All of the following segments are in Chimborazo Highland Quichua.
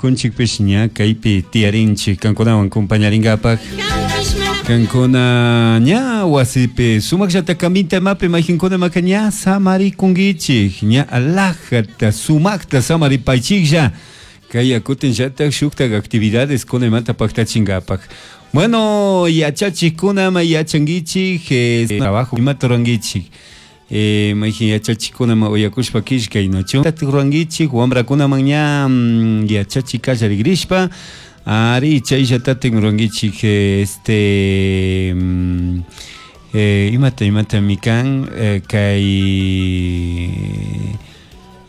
Ñukunchikpish ña kaypi tiyarinchik kankunawan compañarinkapak. Kankuna ña wasipi sumaqllata caminta imapi mayqinkuna imaka ña samarikunkichik, ña alajata sumaqta samaripaychiklla. Kay kutinllatak shuktak actividades kuna imata paktachinkapak. Bueno, yachachikkuna ima yachankichik, trabajo imata rurankichik. Mayqin yachachikkuna ima uyakushpa killkay nachu rurankichik wamrakunaman ña yachachik kallarikrispa ari chayllatatik rurankichik este imata imatami kan kay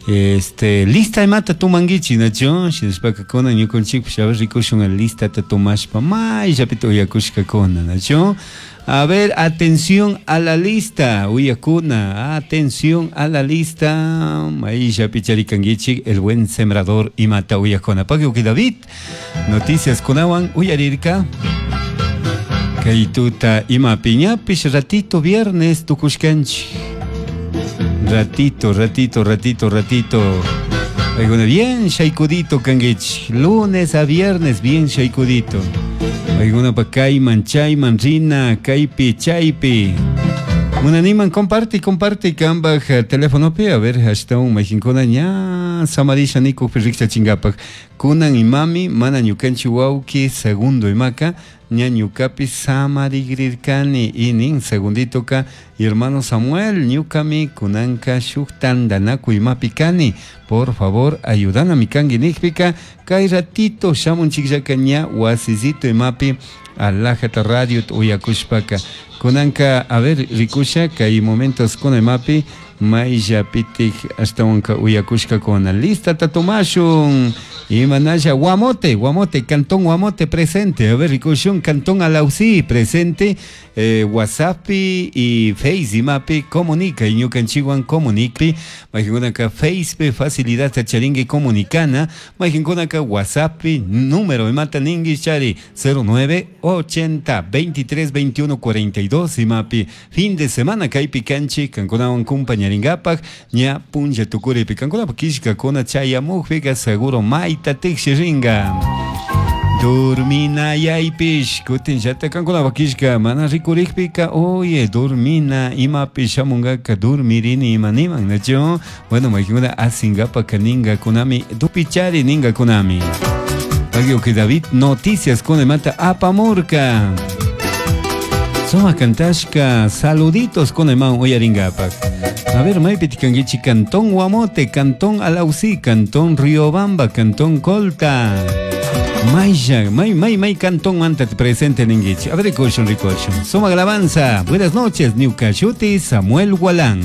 este lista imata tumankichik nachu shinashpaka kunan ñukanchikpish a ver rikushun listata tumashpa mayllapita uyakushkakuna nachu. A ver, atención a la lista, uyakuna, atención a la lista. Mayllapi charikankichik el buen sembrador imata uyakuna. Pagui David, noticias kunawan uyarirka. Kay tuta imapi ñapish ratito viernes tukushkanchik. Ratito, ratito, ratito, ratito. Paykuna bien shaykudito kankichik. Lunes a viernes bien shaykudito. Paykunapa kayman chayman rina kaypi chaypi. Munaniman comparte, comparte kambaj telefonopi, a ver, ashtawan mayqinkuna ña samarisha nikukpi rikchachinkapak. Kunan imami mana ñukanchik wawki segundo imaka ña ñukapi samarigrirkani y nin segunditoka hermano Samuel ñukami kunanka shuk tandanakuy imapi kani, por favor ayudanami kanki nikpika kay ratito shamunchikllaka ña wasisito imapi alajata radio uyakushpaka. Kunanka a ver rikusha kay momentos kuna imapi mayllapitik ashtawanka uyakushkakuna. Listata tomashun imanalla Guamote, Guamote, Cantón Guamote presente. A ver rikushun Cantón Alausí presente. WhatsApp y Face imapi comunica y ñukanchikwan comunicpi mayqinkunaka Face facilidad charinki comunicana mayqinkunaka WhatsApp número imata ninki chari 09 80 23 21 42 imapi fin de semana kaypi kanchik kankunawan compañarinkapak ña punlla tukuripi kankunapak killkakuna chayamukpika seguro mayta tikshirinka. Dorminayaypish kutinllata kankunapak killka mana rikurikpika oye dormina imapi shamunkaka dormirini ima niman nachu. Bueno, mayqinkuna asinkapak ninkakunami dupichari ninkakunami. Pagui David noticias kuna imata apamurka. Sumak kantashka saluditos kuna imawan uyarinkapak. A ver, maypi kankichik Cantón Guamote, Cantón Alausí, Cantón Riobamba, Cantón Colta. Maylla, may, may, may cantón manta presente ninkichik. A ver, rikushun, rikushun. Sumak alabanza. Buenas noches, ñuka shuti Samuel Gualán.